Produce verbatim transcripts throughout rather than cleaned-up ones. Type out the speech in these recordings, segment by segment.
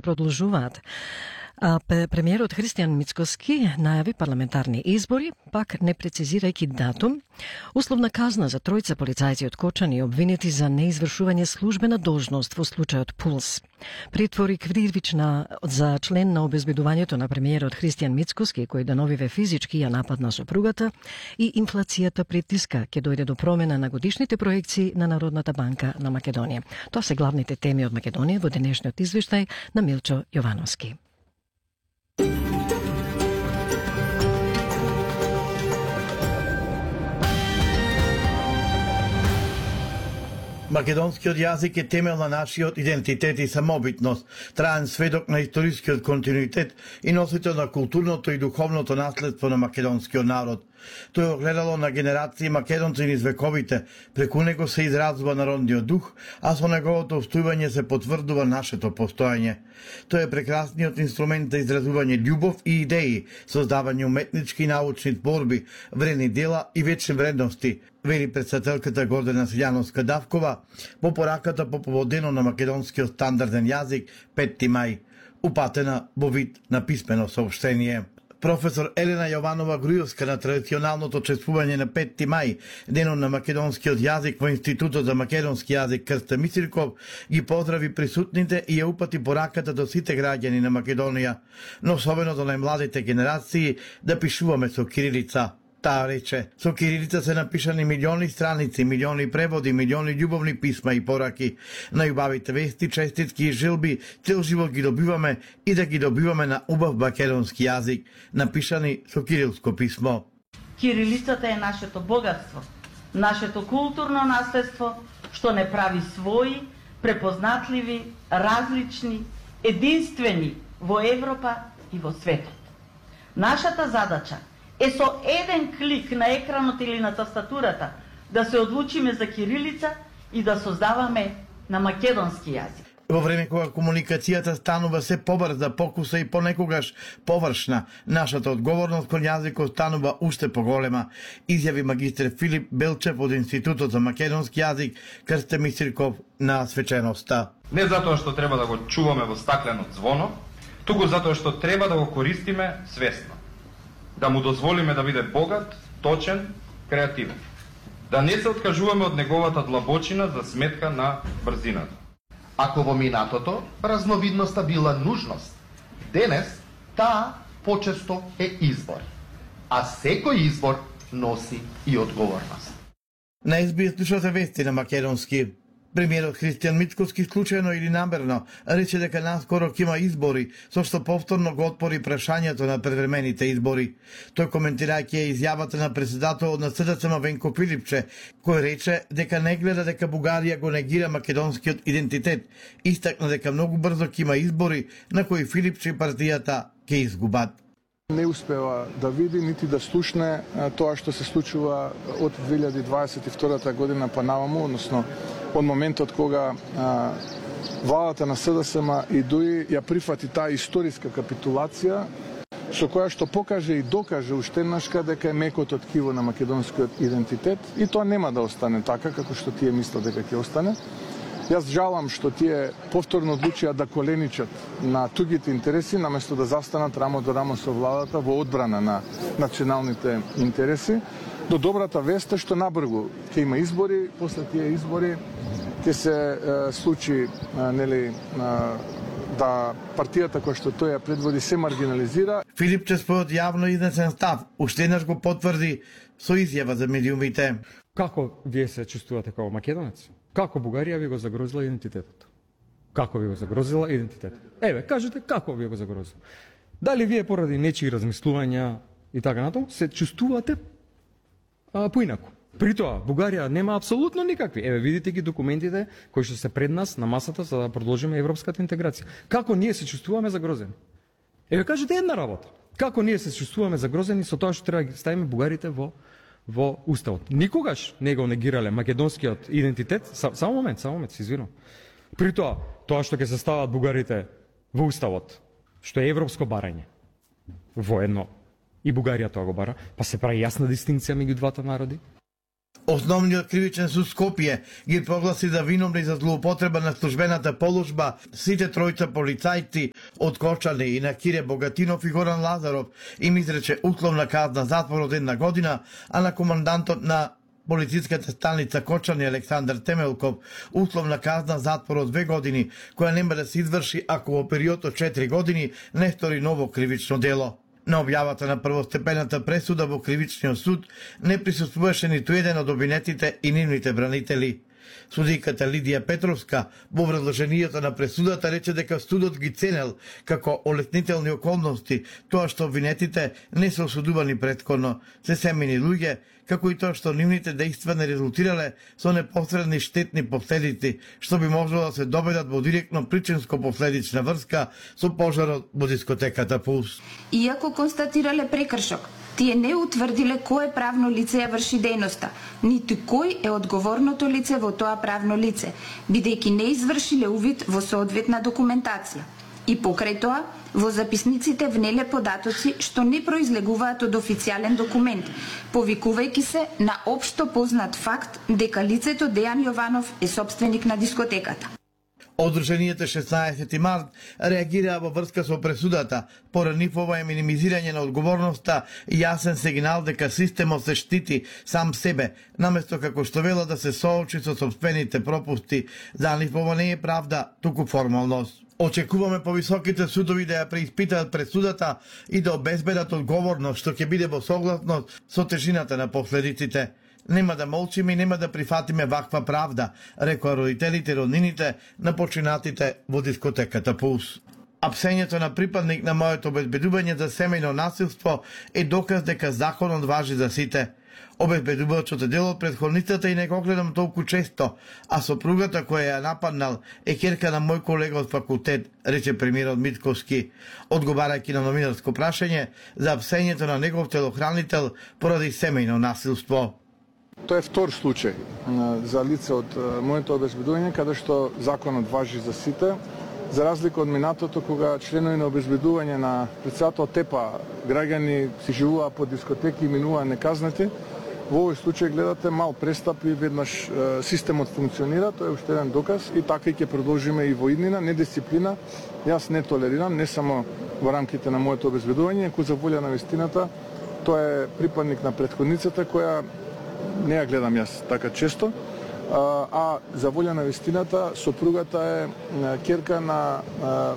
продолжуваат. А премиерот Христијан Мицкоски најави парламентарни избори, пак не прецизирајќи датум, условна казна за тројца полицајци од Кочани обвинети за неизвршување службена должност во случајот Пулс. Притвори кривична за член на обезбедувањето на премиерот Христијан Мицкоски, кој деновиве физички ја нападна сопругата, и инфлацијата притиска ќе дојде до промена на годишните проекции на Народната банка на Македонија. Тоа се главните теми од Македонија во денешниот извештај на Милчо Јовановски. Македонскиот јазик е темел на нашиот идентитет и самобитност, траен сведок на историскиот континуитет и носител на културното и духовното наследство на македонскиот народ. Тој е огледало на генерации македонци низ вековите, преку него се изразува народниот дух, а со неговото устојување се потврдува нашето постојање. Тој е прекрасниот инструмент за изразување љубов и идеи, создавање уметнички и научни творби, вредни дела и вечни вредности, вели председателката Гордана Силјановска-Давкова во пораката по поводено на македонскиот стандарден јазик петти мај, упатена во вид на писмено соопштение. Професор Елена Јованова Грујовска на традиционалното чествување на петти мај, денот на македонскиот јазик во Институтот за македонски јазик Крсте Мисирков, ги поздрави присутните и ја упати пораката до сите граѓани на Македонија, но особено до најмладите генерации, да пишуваме со кирилица. Таа рече, со кирилица се напишани милиони страници, милиони преводи, милиони љубовни писма и пораки. Најубавите вести, честитки и жилби цел живот ги добиваме и да ги добиваме на убав македонски јазик, напишани со кирилско писмо. Кирилицата е нашето богатство, нашето културно наследство, што не прави своји, препознатливи, различни, единствени во Европа и во светот. Нашата задача е со еден клик на екранот или на тастатурата да се одлучиме за кирилица и да создаваме на македонски јазик. Во време кога комуникацијата станува се побрза, покуса и понекогаш површна, нашата одговорност кон јазикот станува уште поголема, изјави магистр Филип Белчев од Институтот за македонски јазик Крсте Мисирков на свеченоста. Не затоа што треба да го чуваме во стаклено звоно, туку затоа што треба да го користиме свесно. Да му дозволиме да биде богат, точен, креативен. Да не се откажуваме од неговата длабочина за сметка на брзината. Ако во минатото разновидноста била нужност, денес таа почесто е избор. А секој избор носи и одговорност. На ес би ес слушате вести на македонски. Премиерот Христијан Мицкоски случајно или намерно рече дека наскоро ќе има избори, со што повторно го отпори прашањето на превремените избори. Тој коментирајќи изјавата на председателот на ес де ес ем Венко Филипче, кој рече дека не гледа дека Бугарија го негира македонскиот идентитет, истакна дека многу брзо ќе има избори на кои Филипче и партијата ќе изгубат. Не успева да види нити да слушне тоа што се случува од две илјади дваесет и втора година па наваму, односно од моментот кога а, владата на ес де ес ем и ДУИ ја прифати таа историска капитулација, со која што покаже и докаже уште еднашка дека е мекото ткиво на македонскиот идентитет, и тоа нема да остане така како што тие мислат дека ќе остане. Јас жалам што тие повторно одлучија да коленичат на тугите интереси, наместо да застанат рамо до рамо со владата во одбрана на националните интереси. До добрата вест е што набргу ќе има избори, после тие избори ќе се е, случи е, нели, е, да партијата која што тој ја предводи се маргинализира. Филипче според јавно изнесен став уште еднаш го потврди со изјава за медиумите. Како вие се чувствувате како македонец? Како Бугарија ви го загрозила идентитетот? Како ви го загрозила идентитетот? Еве, кажете како ви го загрозила. Дали вие поради нечии размислувања и така натаму се чувствувате а, поинаку? При тоа, Бугарија нема апсолутно никакви. Еве, видите ги документите кои што се пред нас на масата за да продолжиме европската интеграција. Како ние се чувствуваме загрозени? Еве, кажете една работа. Како ние се чувствуваме загрозени со тоа што треба да ставиме бугарите во во уставот. Никогаш не го негирале македонскиот идентитет. Само момент, само момент, се извинувам. При тоа, тоа што ќе се стават бугарите во уставот, што е европско барање, воедно и Бугарија тоа го бара, па се прави јасна дистинкција меѓу двата народи. Основниот кривичен суд Скопје ги прогласи за виновни за злоупотреба на службената положба сите тројца полицајци од Кочани и на Кире Богатинов и Горан Лазаров им изрече условна казна затвор од една година, а на командантот на полициската станица Кочани Александар Темелков условна казна затвор од две години, која нема да се изврши ако во период од четири години не стори ново кривично дело. На објавата на првостепената пресуда во кривичниот суд не присуствуваше ниту еден од обвинетите и нивните бранители. Судиката Лидија Петровска во образложението на пресудата рече дека судот ги ценел како олеснителни околности тоа што обвинетите не се осудувани претходно, се семени луѓе, како и тоа што нивните дејства не резултирале со непосредни штетни последици, што би можело да се доведат во директно причинско-последична врска со пожарот во дискотеката Пулс. Иако констатирале прекршок, тие не утврдиле кое правно лице ја врши дејноста, ниту кој е одговорното лице во тоа правно лице, бидејќи не извршиле увид во соодветна документација. И покрај тоа, во записниците внеле податоци што не произлегуваат од официјален документ, повикувајќи се на општо познат факт дека лицето Дејан Јованов е собственик на дискотеката. Одруженијата шеснаесети март реагираа во врска со пресудата, поради нивова е минимизирање на одговорноста и јасен сигнал дека системот се штити сам себе, наместо како што вела да се соочи со сопствените пропусти. За нив ова не е правда, туку формалност. Очекуваме повисоките судови да ја преиспитаат пресудата и да обезбедат одговорност, што ќе биде во согласност со тежината на последиците. Нема да молчиме и нема да прифатиме ваква правда, рекоа родителите и роднините на починатите во дискотеката Пулс. Апсењето на припадник на моето обезбедување за семејно насилство е доказ дека законот важи за сите. Обезбедувачот е дел од претходницата и не го гледам толку често, а сопругата која ја нападнал е ќерка на мој колега од факултет, рече премиерот Мицковски, одговарајќи на новинарско прашање за апсењето на негов телохранител поради семејно насилство. Тоа е втор случај за лице од моето обезбедување, каде што законот важи за сите, за разлика од минатото кога членови на обезбедување на председател ТЕПА граѓани си живуваа по дискотеки и минуваа неказнати. Во овој случај гледате мал престап и веднаш системот функционира, тоа е уште еден доказ и така и ќе продолжиме и во иднина, недисциплина. Јас не толерирам, не само во рамките на моето обезбедување, кој за волја на вистината, тоа е припадник на претходницата која не ја гледам јас така често, а за волја на вистината сопругата е ќерка на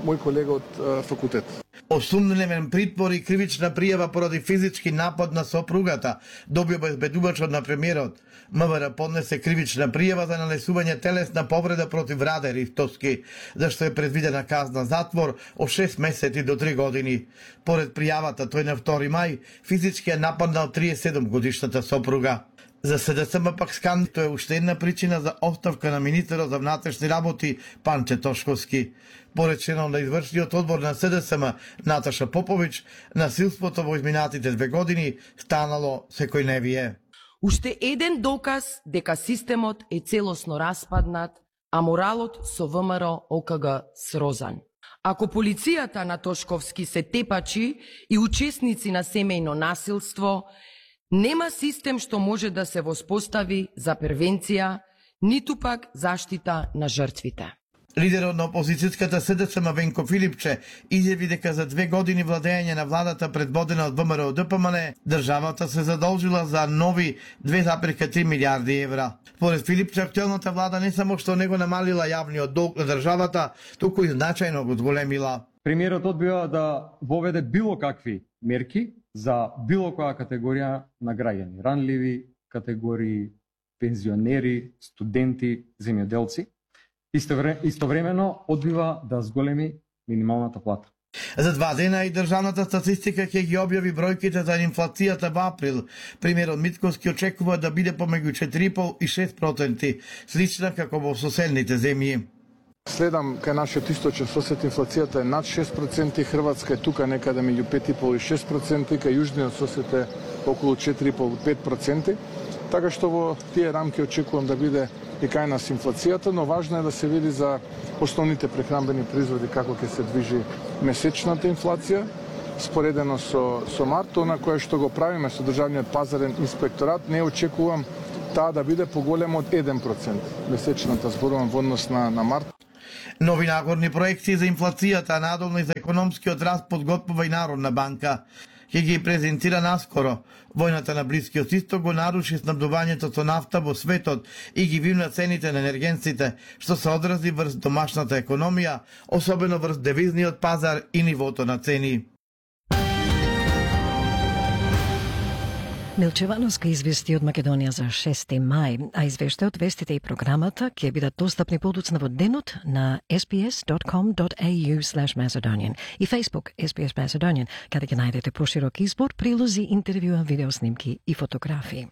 мој колега од факултет. Осумнен притвор и кривична пријава поради физички напад на сопругата, доби обезбедувачот на премиерот. МВР поднесе кривична пријава за нанесување телесна повреда против Раде Ристовски, зашто е предвидена казна затвор од шест месеци до три години. Поред пријавата, тој на втори мај физички е нападнал триесет и седум годишната сопруга. За СДСМ пак скандалот е уште една причина за оставка на министерот за внатрешни работи Панче Тошковски. Поред членот на извршниот одбор на СДСМ Наташа Попович, насилството во изминатите две години станало секојневие. Уште еден доказ дека системот е целосно распаднат, а моралот со ВМРО ОКГ срозан. Ако полицијата на Тошковски се тепачи и учесници на семејно насилство, нема систем што може да се воспостави за превенција, ниту пак заштита на жртвите. Лидерот на опозицијската СДСМ Венко Филипче изјави дека за две години владење на владата предводена од ВМРО ДПМН, државата се задолжила за нови две запирка три милиарди евра. Според Филипче, актуелната влада не само што не го намалила јавниот долг на државата, туку и значајно го зголемила. Премиерот одбива да воведе било какви мерки за било која категорија на граѓани, ранливи категории, пензионери, студенти, земјоделци. Истовремено одбива да зголеми минималната плата. За два дена и државната статистика ќе ги објави бројките за инфлацијата во април. Премиерот Мицковски очекува да биде помеѓу четири и пол и шест проценти, слична како во соседните земји. Следам кај нашиот источен сосед инфлацијата е над шест проценти, Хрватска е тука некаде меѓу пет и пол и шест проценти, кај јужниот сосед е околу четири и пол до пет проценти. Така што во тие рамки очекувам да биде и кај нас инфлацијата, но важно е да се види за основните прехранбени производи како ќе се движи месечната инфлација, споредено со, со март, она кое што го правиме со Државниот пазарен инспекторат, не очекувам таа да биде поголема од еден процент. Месечната зборувам во однос на, на март. Нови нагорни проекции за инфлацијата, надолно и за економскиот раст подготвува и Народна банка. Ќе ги презентира наскоро. Војната на Блискиот исток го наруши снабдувањето со нафта во светот и ги вивна цените на енергенците, што се одрази врз домашната економија, особено врз девизниот пазар и нивото на цени. Милчевановска извести од Македонија за шести мај, а извештајот, вестите и програмата ќе бидат достапни подоцна во денот на ес би ес dot com dot a u slash macedonian и Facebook ес би ес Macedonian, каде ќе најдете поширок избор, прилози, интервјуа, видеоснимки и фотографии.